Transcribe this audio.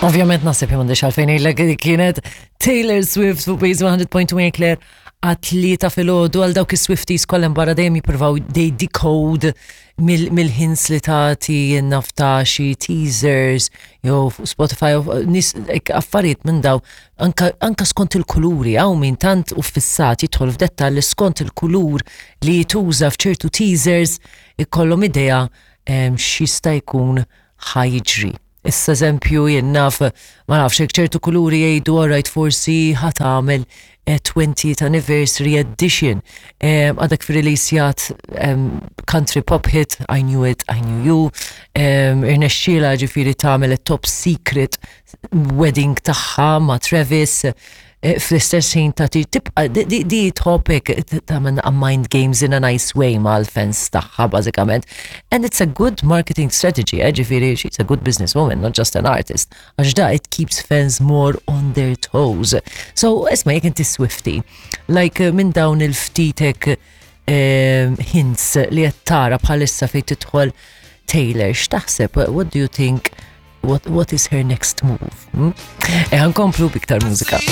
Ovvjament naħseb m'għandix għalfejn ngħidlek li kienet Taylor Swift fuq Base 100.1 Claire għat-tlieta filgħodu għal dawk is-Swifties kollha barra dejjem jippruvaw they decode mill-hints li tagħti naf ta' xi teasers jew fuq Spotify jew nies hekk affarijiet minn daw anka, anka skont il-kuluri hawn min tant u fissat jidħol f'dettall li skont il-kulur li jituża f'ċertu teasers ikollhom idea x'jista' jkun ħa jiġri. Issa eżempju jien naf, ma nafx hekk ċertu kuluri jgħidu alright forsi ħa tagħmel 20th anniversary edition. Għadek fi-releasjat country pop hit, I Knew It, I Knew You. Irnexxiela ġifieri tagħmel top secret wedding tagħha ma' Travis. Fl-istess ħin ta' tibqa di tħobb tagħmel mind games in a nice way mal-fans tagħha bażikament. And it's a good marketing strategy, ġifieri she's a good businesswoman, not just an artist. Għax da it keeps fans more on their toes. So, isma' jekk inti Swiftie, like minn dawn il-ftitek hints li qed tara bħalissa fejn tidħol Taylor, x'taħseb? What do you think? What is her next move? E nkomplu b'iktar mużika.